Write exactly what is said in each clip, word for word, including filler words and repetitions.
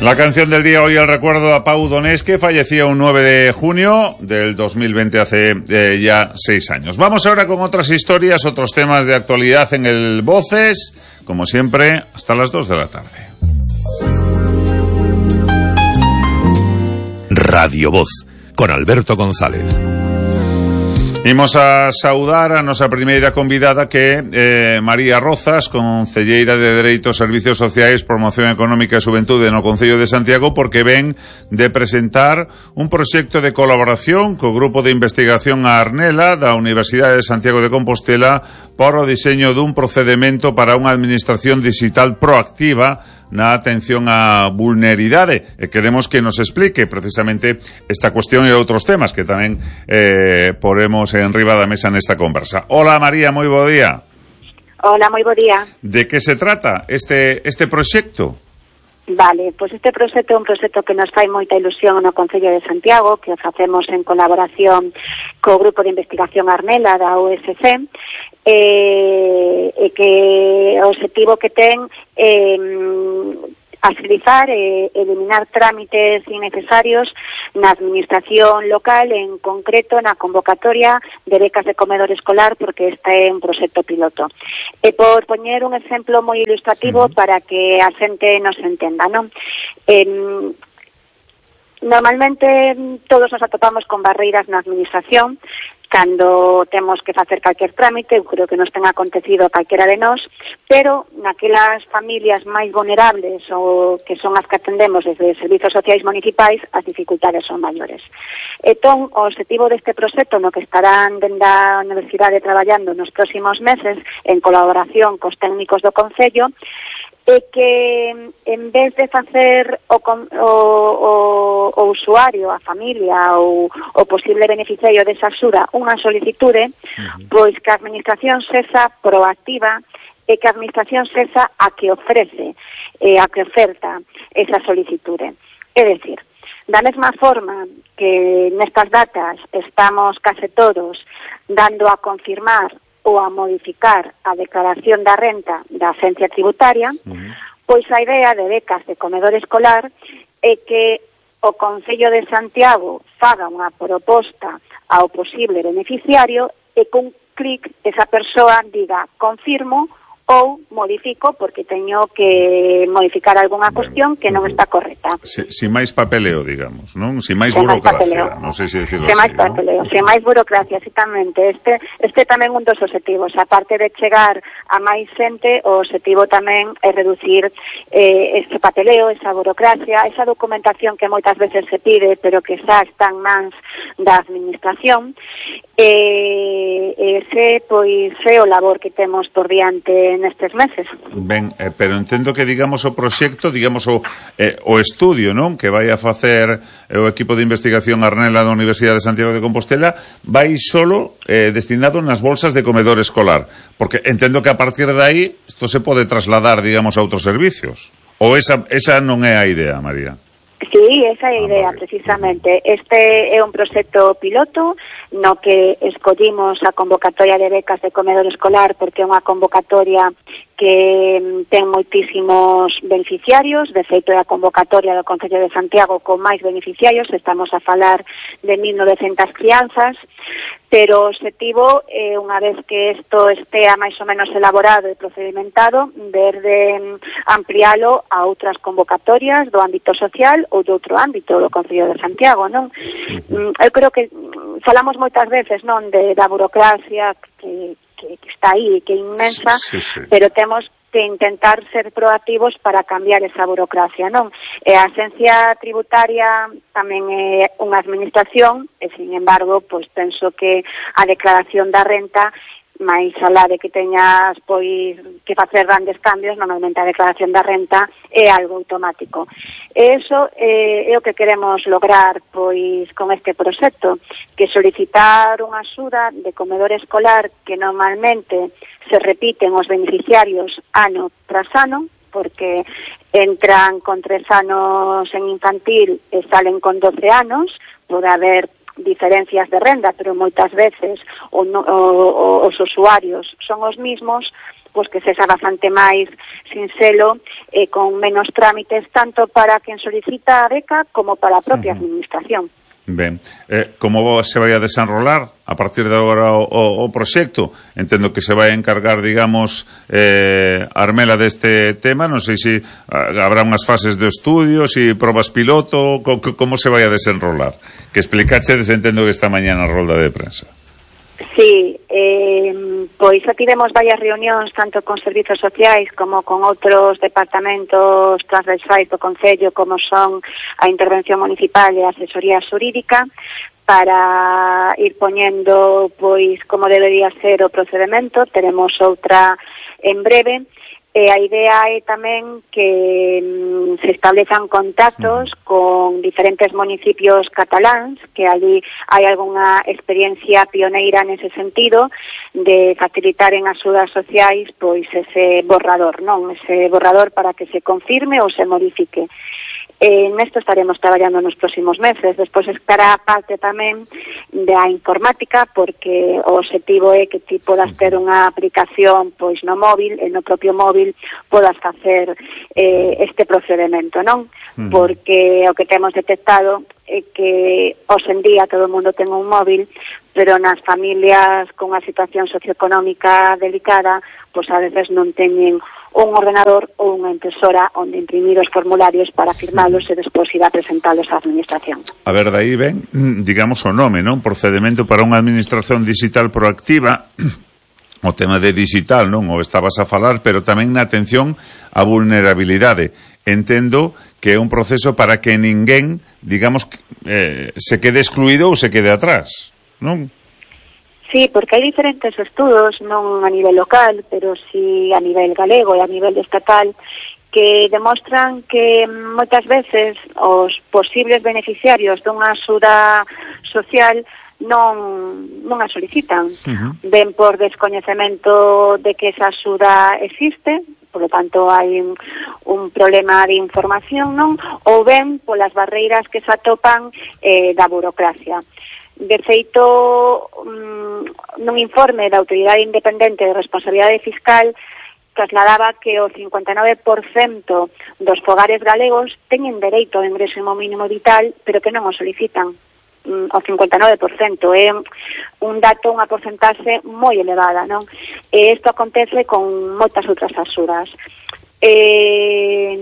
La canción del día hoy, el recuerdo a Pau Donés, que fallecía un nueve de junio del dos mil veinte, hace eh, ya seis años. Vamos ahora con otras historias, otros temas de actualidad en el Voces, como siempre, hasta las dos de la tarde. Radio Voz, con Alberto González. Imos a saudar a nosa primeira convidada, que é eh, María Rozas, concelleira de Dereitos, Servicios Sociais, Promoción Económica e Xuventude no Concello de Santiago, porque ven de presentar un proxecto de colaboración co Grupo de Investigación a Arnela da Universidade de Santiago de Compostela para o diseño dun procedimento para unha administración digital proactiva na atención á vulneridade, e queremos que nos explique precisamente esta cuestión e outros temas que tamén eh, poremos en riba da mesa nesta conversa. Hola María, moi bo día. Hola, moi bo día. De que se trata este este proxecto? Vale, pois este proxecto é un proxecto que nos fai moita ilusión no Concello de Santiago, que o facemos en colaboración co Grupo de Investigación Arnela da U S C, e, e que o objetivo que ten é agilizar e eliminar trámites innecesarios na administración local, en concreto na convocatoria de becas de comedor escolar, porque este é un proxecto piloto. E por poñer un exemplo moi ilustrativo uh-huh. para que a xente nos entenda, non? Eh, normalmente todos nos atopamos con barreiras na administración cando temos que facer calquer trámite. Eu creo que nos ten acontecido a calquera de nós, pero naquelas familias máis vulnerables ou que son as que atendemos desde servizos sociais municipais, as dificultades son maiores. Entón, o objetivo deste proxecto, no que estarán dende a Universidade traballando nos próximos meses en colaboración cos técnicos do Concello, é que en vez de facer o, o, o, o usuario, a familia ou o posible beneficiario desa axuda unha solicitude, uh-huh. pois que a administración sexa proactiva e que a administración sexa a que ofrece, eh, a que oferta esa solicitude. É dicir, da mesma forma que nestas datas estamos case todos dando a confirmar ou a modificar a declaración da renta da Agencia Tributaria, uh-huh. pois a idea de becas de comedor escolar é que o Concello de Santiago faga unha proposta ao posible beneficiario e cun clic esa persoa diga confirmo ou modifico porque teño que modificar algunha cuestión que non está correcta. Si, si máis papeleo, digamos, non? Si máis burocracia, non sei se decirlo así, máis ¿no? papeleo, si máis burocracia, exactamente. Este este tamén un dos obxectivos, aparte de chegar a máis xente, o obxectivo tamén é reducir eh, este papeleo, esa burocracia, esa documentación que moitas veces se pide, pero que xa está en mans da administración. E ese, pois, é o labor que temos por diante nestes meses. Ben, eh, pero entendo que, digamos, o proxecto, digamos, o, eh, o estudio, non?, que vai a facer eh, o equipo de investigación Arnela da Universidade de Santiago de Compostela, vai solo eh, destinado nas bolsas de comedor escolar, porque entendo que a partir de aí isto se pode trasladar, digamos, a outros servicios. Ou esa, esa non é a idea, María? Sí, esa é a idea, precisamente. Este é un proxecto piloto no que escollimos a convocatoria de becas de comedor escolar porque é unha convocatoria que ten moitísimos beneficiarios. De feito, é a convocatoria do Concello de Santiago con máis beneficiarios. Estamos a falar de mil novecentas crianzas, pero o objetivo é, unha vez que isto estea máis ou menos elaborado e procedimentado, ver de ampliálo a outras convocatorias do ámbito social ou do outro ámbito do Concello de Santiago, non? Eu creo que falamos moitas veces, non, de da burocracia que, que, que está aí, que é inmensa, sí, sí. pero temos que intentar ser proactivos para cambiar esa burocracia, non? E a Agencia Tributaria tamén é unha administración e, sin embargo, pois penso que a declaración da renta, máis alá de que teñas pois que facer grandes cambios, normalmente a declaración da renta é algo automático. E iso eh, é o que queremos lograr pois con este proxecto, que solicitar unha axuda de comedor escolar que normalmente se repiten os beneficiarios ano tras ano, porque entran con tres anos en infantil e salen con doce anos, pode haber diferencias de renda, pero moitas veces o, o, os usuarios son os mismos, pois que sexa bastante máis sinxelo e eh, con menos trámites tanto para quen solicita a beca como para a propia uh-huh. administración. Ben, eh, como se vai a desenrolar a partir de agora o, o, o proxecto? Entendo que se vai a encargar, digamos, eh, Armela deste tema, non sei se ah, habrá unhas fases de estudio, se probas piloto, co, como se vai a desenrolar? Que explicachedes, entendo que esta mañá na rolda de prensa. Sí, eh, pois xa tivemos varias reunións tanto con servizos sociais como con outros departamentos transversais do Concello como son a intervención municipal e a asesoría xurídica para ir poñendo pois como debería ser o procedemento. Teremos outra en breve. E a idea é tamén que mm, se establezan contactos con diferentes municipios cataláns, que allí hai algunha experiencia pioneira nese sentido de facilitar en axudas sociais pois ese borrador, non? Ese borrador para que se confirme ou se modifique. En esto estaremos traballando nos próximos meses. Despois estará a parte tamén da informática, porque o objetivo é que ti podas ter unha aplicación pois no móvil, e no propio móvil podas facer eh, este procedimento, non? Uh-huh. Porque o que temos detectado é que hoxe en día todo o mundo ten un móvil, pero nas familias con unha situación socioeconómica delicada, pois a veces non teñen un ordenador ou unha impresora onde imprimir os formularios para firmalos e despois ir a presentalos á administración. A ver, daí ven, digamos, o nome, non? Procedimento para unha administración digital proactiva. O tema de digital, non? O estabas a falar, pero tamén na atención á vulnerabilidade. Entendo que é un proceso para que ninguén, digamos, eh, se quede excluído ou se quede atrás, non? Sí, porque hai diferentes estudos, non a nivel local, pero sí a nivel galego e a nivel estatal, que demostran que moitas veces os posibles beneficiarios dunha axuda social non, non a solicitan. Uh-huh. Ben por descoñecemento de que esa axuda existe, por lo tanto hai un, un problema de información, non? Ou ben polas barreiras que se atopan eh, da burocracia. De feito, nun informe da Autoridade Independente de Responsabilidade Fiscal trasladaba que o cincuenta e nove por cento dos fogares galegos teñen dereito ao ingreso mínimo vital, pero que non o solicitan. O cincuenta e nove por cento é un dato, unha porcentaxe moi elevada, non? E isto acontece con moitas outras axudas. Eh,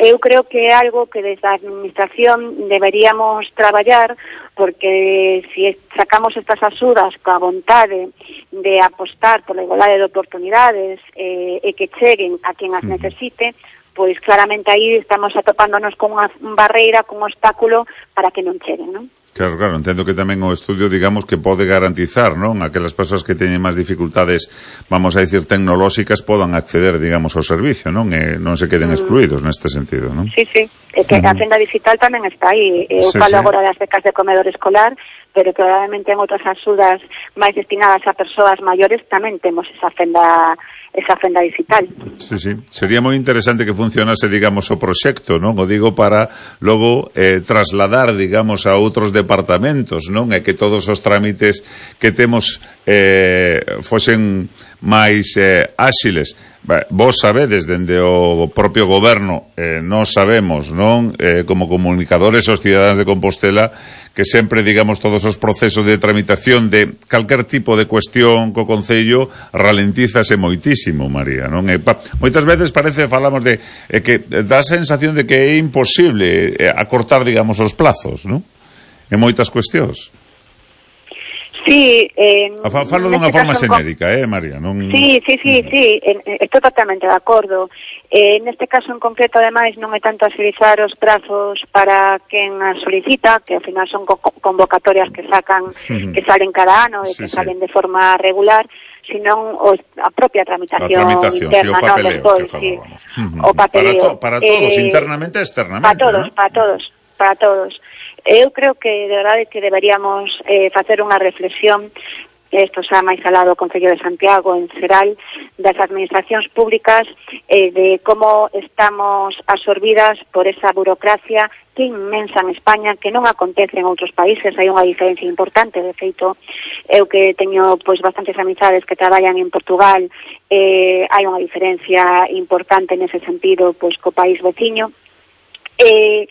eu creo que é algo que desde a administración deberíamos traballar, porque se sacamos estas axudas coa vontade de apostar pola igualdade de oportunidades eh, e que cheguen a quen as necesite, pois claramente aí estamos atopándonos con unha barreira, con un obstáculo para que non cheguen, non? Claro, claro, entendo que tamén o estudio, digamos, que pode garantizar, non? Aquelas persoas que teñen máis dificultades, vamos a dicir, tecnolóxicas, podan acceder, digamos, ao servicio, non? E non se queden excluídos mm. neste sentido, non? Sí, sí, é que uh-huh. a fenda digital tamén está aí. Eu sí, falo sí. agora das becas de comedor escolar, pero probablemente en outras axudas máis destinadas a persoas maiores tamén temos esa fenda esa fenda digital. Sí, sí. Sería moi interesante que funcionase, digamos, o proxecto, non? O digo para logo eh, trasladar, digamos, a outros departamentos, non? E que todos os trámites que temos eh, fosen máis eh, áxiles. Vos sabedes, dende o propio goberno, eh, nós sabemos, non? Eh, como comunicadores aos cidadáns de Compostela, que sempre, digamos, todos os procesos de tramitación de calquer tipo de cuestión co Concello ralentízase moitísimo, María, non? E, pa, moitas veces parece, falamos de eh, que dá a sensación de que é imposible eh, acortar, digamos, os plazos, non? En moitas cuestións. Sí, eh, falo dunha forma xenérica, eh, María, non... Sí, sí, sí, sí, estou totalmente de acordo. Eh, neste caso en concreto, ademais, non é tanto agilizar os prazos para quen a solicita, que ao final son co convocatorias que sacan, uh-huh. que salen cada ano e sí, que sí. salen de forma regular, sino os, a propia tramitación, a tramitación interna, sí, o papeleo, no, despois, sí, uh-huh. o papeleo. Para, to, para todos, eh, internamente e externamente. Para todos, ¿no? para todos, para todos. Eu creo que de verdade que deberíamos eh, facer unha reflexión isto xa máis alado do Concello de Santiago, en xeral, das administracións públicas, eh, de como estamos absorbidas por esa burocracia que inmensa en España, que non acontece en outros países. Hai unha diferencia importante. De feito, eu que teño pois bastantes amizades que traballan en Portugal, eh, hai unha diferencia importante nese sentido pois co país veciño. Eh,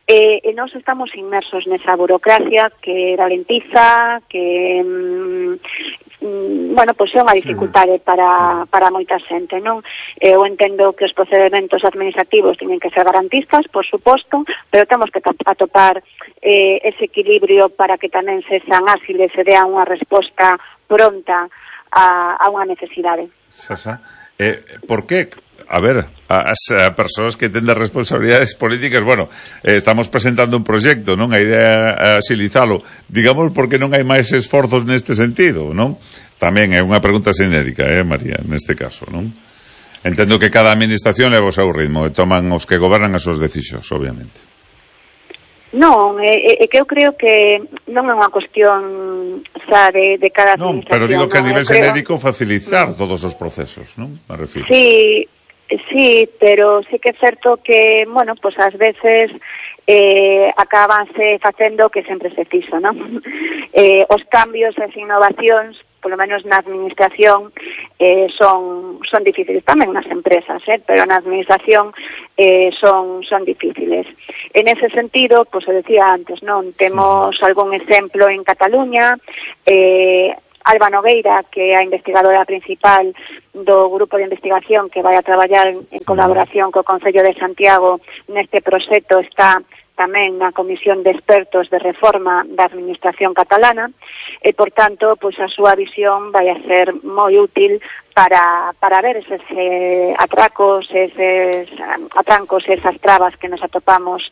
Eh, e nós estamos inmersos nesa burocracia que ralentiza, que mm, bueno, pois é unha dificultade para, para moita xente, non? Eu entendo que os procedementos administrativos teñen que ser garantistas, por suposto, pero temos que atopar eh, ese equilibrio para que tamén se sean áxiles e dean unha resposta pronta a, a unha necesidade. Sasa, eh, por que... A ver, as a persoas que tenden responsabilidades políticas, bueno, eh, estamos presentando un proxecto, non? A idea é axilizalo. Digamos, porque non hai máis esforzos neste sentido, non? Tamén é unha pregunta xenérica, eh, María, neste caso, non? Entendo que cada administración leva o seu ritmo e toman os que gobernan as súas decisións, obviamente. Non, é, é que eu creo que non é unha cuestión xa de, de cada administración. Non, pero digo que a nivel creo... xenérico facilitar todos os procesos, non? Me refiro. Sí, sí, pero sí que é certo que, bueno, pues ás veces eh, acabanse facendo que sempre se fixo, non? eh, os cambios e as innovacións, polo menos na administración, eh, son son difíciles, tamén nas empresas, eh, pero na administración eh, son son difíciles. En ese sentido, pois pues, decía antes, non temos algún exemplo en Cataluña. eh, Alba Nogueira, que é a investigadora principal do grupo de investigación que vai a traballar en, en colaboración co Concello de Santiago neste proxecto, está tamén na Comisión de Expertos de Reforma da Administración Catalana, e, por tanto, pois a súa visión vai a ser moi útil para, para ver eses eh, atracos, eses atrancos, esas trabas que nos atopamos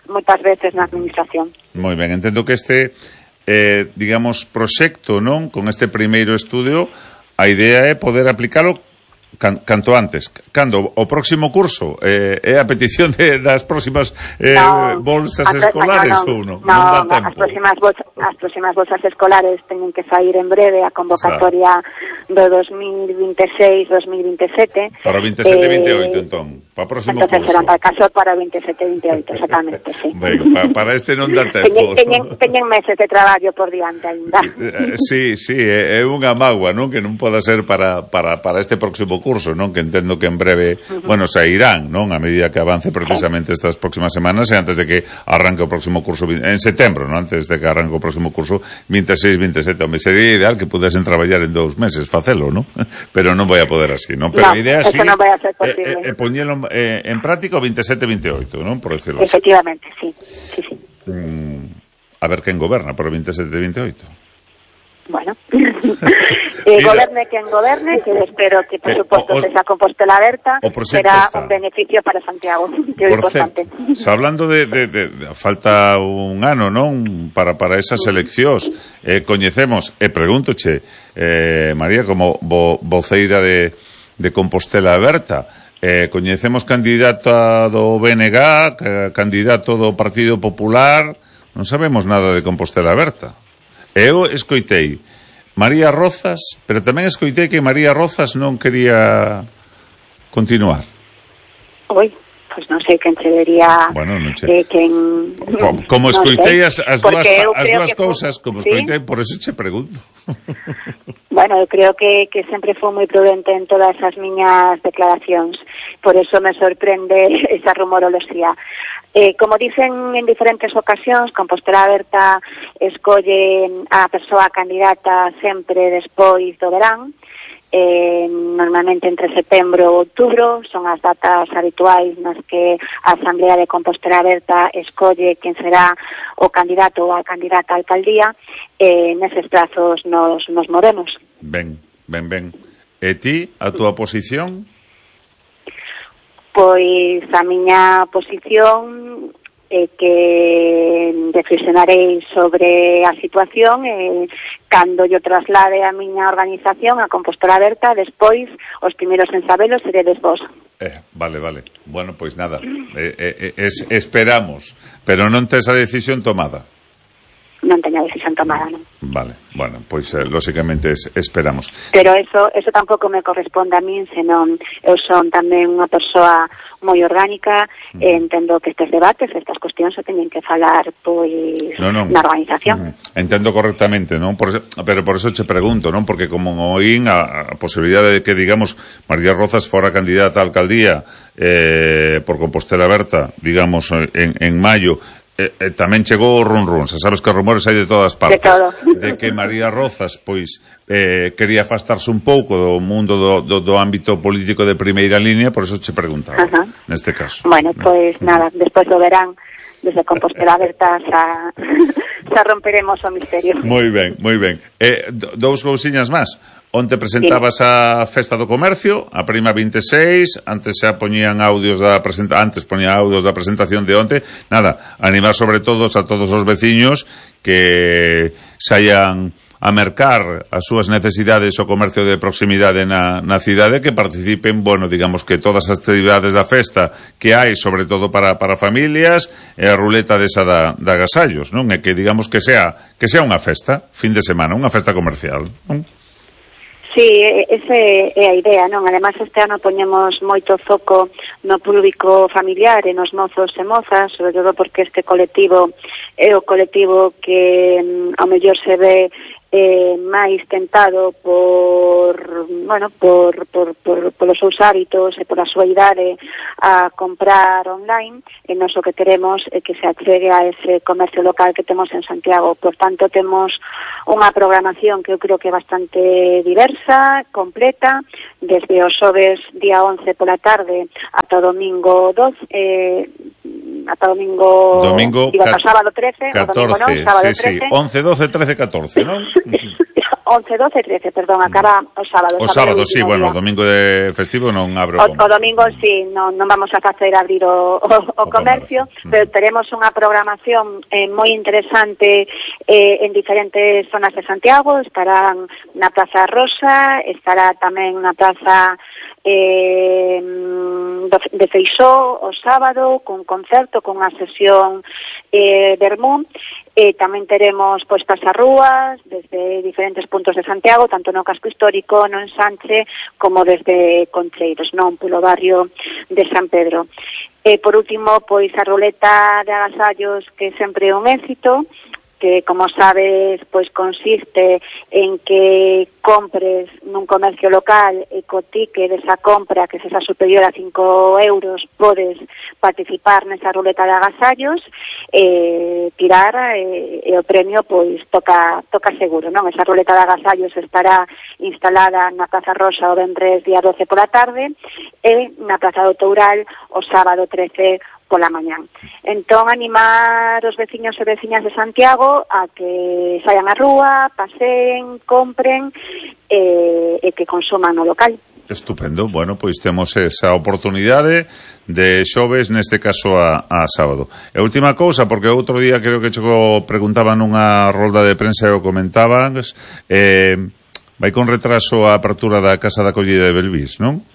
moitas veces na Administración. Moi ben, entendo que este... Eh, digamos, proxecto, non? Con este primeiro estudio, a idea é poder aplicalo can, canto antes. Cando? O próximo curso? Eh, é a petición de, das próximas eh, no, bolsas a, escolares no, ou non? No, non dá tempo. As próximas, bolsas, as próximas bolsas escolares teñen que sair en breve a convocatoria do dos mil veintiséis dos mil veintisiete. Para o veintisiete veintioito, eh, entón. Para o próximo entonces curso. será para caso para o veintisiete veintioito, exactamente, sí. Bueno, para, para este non dá tempo. Teñen, teñen meses de traballo por diante ainda. Sí, sí, é, é unha mágoa, non? Que non poda ser para, para, para este próximo curso, non? Que entendo que en breve, uh-huh. bueno, sairán, non? A medida que avance precisamente estas próximas semanas e antes de que arranque o próximo curso en setembro, non? Antes de que arranque o próximo curso veintiséis veintisiete. Home, sería ideal que pudesen traballar en dous meses, facelo, non? Pero non vai a poder así, non? Pero no, a idea sí sí non vai a ser posible. É, é, é poñelo eh, en práctica o veintisiete veintioito, non? Por decirlo así. Efectivamente, sí, sí, sí. Mm, a ver quen goberna por o veintisiete veintioito. Bueno, eh, goberne quen goberne, que espero que, por eh, suposto, sexa Compostela Aberta, será está. Un beneficio para Santiago, que é importante. Certo, hablando de, de, de, de falta un ano, non? Para, para esas eleccións, eh, coñecemos, e pregúntoche, eh, María, como vo, voceira de, de Compostela Aberta, eh, coñecemos candidata do B N G, candidato do Partido Popular, non sabemos nada de Compostela Aberta. Eu escoitei María Rozas, pero tamén escoitei que María Rozas non quería continuar. Oi, pois non sei quen che vería. Bueno, non che... Eh, quen... Como, como escoitei no as, as dúas, as dúas cousas, como ¿sí? escoitei, por eso che pregunto. Bueno, eu creo que, que sempre foi moi prudente en todas as miñas declaracións, por eso me sorprende esa rumoroloxía. Eh, como dicen en diferentes ocasións, Compostela Aberta escolle a persoa candidata sempre despois do verán, eh, normalmente entre setembro e outubro, son as datas habituais nas que a Asamblea de Compostela Aberta escolle quen será o candidato ou a candidata a alcaldía, e eh, neses prazos nos, nos movemos. Ben, ben, ben. E ti, a túa posición? Pois a miña posición é que reflexionarei sobre a situación e cando yo traslade a miña organización a Compostela Aberta, despois os primeiros en sabelo seredes vos. Eh, vale, vale. Bueno, pois nada, eh, eh, es, esperamos, pero non tes a decisión tomada. non teña decisión tomada, non? Vale, bueno, pois eh, lógicamente es, esperamos. Pero eso eso tampouco me corresponde a min, senón eu son tamén unha persoa moi orgánica, uh-huh. e entendo que estes debates, estas cuestións se teñen que falar pois no, no. na organización. Uh-huh. Entendo correctamente, non? Por eso, pero por eso che pregunto, non? Porque como oín a, a posibilidade de que, digamos, María Rozas fora candidata a alcaldía eh, por Compostela Berta, digamos, en, en maio, Eh, eh, tamén chegou o run run, se sabes que rumores hai de todas partes, de, todo. de que María Rozas pois eh, quería afastarse un pouco do mundo do, do, do ámbito político de primeira línea, por eso che preguntaba. Ajá. Neste caso. Bueno, pois pues, nada, despois do verán desde Compostela Berta xa, xa romperemos o misterio. Moi ben, moi ben. Eh, dous cousiñas máis. Onte presentabas a Festa do Comercio, a Prima vinte e seis, antes xa poñían audios da presenta, antes poñía audios da presentación de onte. Nada, animar sobre todos a todos os veciños que saian a mercar as súas necesidades o comercio de proximidade na, na cidade, que participen, bueno, digamos que todas as actividades da festa que hai, sobre todo para, para familias, e a ruleta desa da, da agasallos, non? E que digamos que sea, que sea unha festa, fin de semana, unha festa comercial, non? Sí, esa é a idea, non? Ademais, este ano poñemos moito foco no público familiar e nos mozos e mozas, sobre todo porque este colectivo é o colectivo que ao mellor se ve eh, máis tentado por, bueno, por, por, por, por os seus hábitos e por a súa idade a comprar online, e nos o que queremos é que se achegue a ese comercio local que temos en Santiago. Por tanto, temos unha programación que eu creo que é bastante diversa, completa, desde o xoves día once pola tarde ata o domingo doce, eh, ata o domingo, domingo digo, ata o sábado trece, catorce, o domingo non, sábado sí, trece. Sí, once, doce, trece, catorce, non? once, doce, trece, perdón, acaba o sábado. O sábado, sí, bueno, o domingo de festivo non abro o, o domingo, sí, non, non vamos a facer abrir o, o, o, o comercio, comercio, pero teremos unha programación eh, moi interesante eh, en diferentes zonas de Santiago. Estarán na Praza Rosa, estará tamén na Praza eh, de Feixó o sábado, con concerto, con unha sesión eh, Vermú. E tamén teremos postas a rúas desde diferentes puntos de Santiago, tanto no casco histórico, no Ensanche, como desde Concheiros, non polo barrio de San Pedro. E por último, pois a roleta de agasallos, que sempre é un éxito, que, como sabes, pois consiste en que compres nun comercio local e co ticket desa compra, que se xa superior a cinco euros, podes participar nesa ruleta de agasallos e tirar, e, e o premio pois toca toca seguro, non? Esa ruleta de agasallos estará instalada na Praza Rosa o venres día doce pola tarde e na Praza do Toural o sábado trece pola mañán. Entón, animar os veciños e veciñas de Santiago a que saian á rúa, paseen, compren e, e que consuman no local. Estupendo, bueno, pois temos esa oportunidade de xoves, neste caso a, a sábado. E última cousa, porque outro día creo que cho preguntaban nunha rolda de prensa e o comentaban, eh, vai con retraso a apertura da Casa da Acollida de Belvís, non?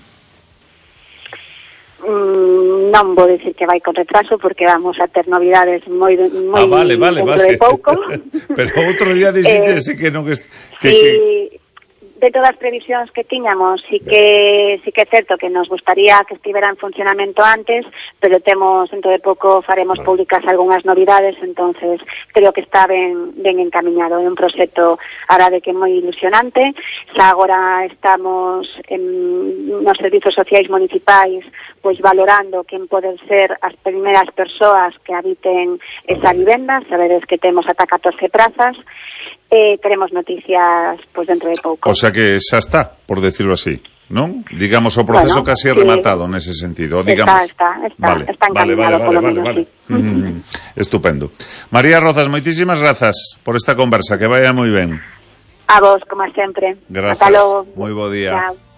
Mm, non vou dicir que vai con retraso, porque vamos a ter novidades moi moi ah, vale, vale, dentro vale. de pouco. Pero outro día dixiste eh, que non est... que, sí, que... de todas as previsións que tiñamos, sí que sí que é certo que nos gustaría que estivera en funcionamento antes, pero temos, dentro de pouco faremos vale. públicas algunhas novidades, entonces creo que está ben, ben encaminado. É un proxecto, a de que é moi ilusionante. Xa agora estamos en, nos servizos sociais municipais pois valorando quen poden ser as primeiras persoas que habiten esa vivenda. Sabedes que temos ata catorce prazas. Eh, teremos noticias pois dentro de pouco. O sea que xa está, por decirlo así, non? Digamos, o proceso bueno, casi sí. rematado nese sentido, digamos. Está, está, está, vale. está encaminado, vale, vale, polo vale, menos, vale, sí. Mm, estupendo. María Rozas, moitísimas grazas por esta conversa, que vaya moi ben. A vos, como sempre. Grazas. Ata logo. Moi bo día. Chao.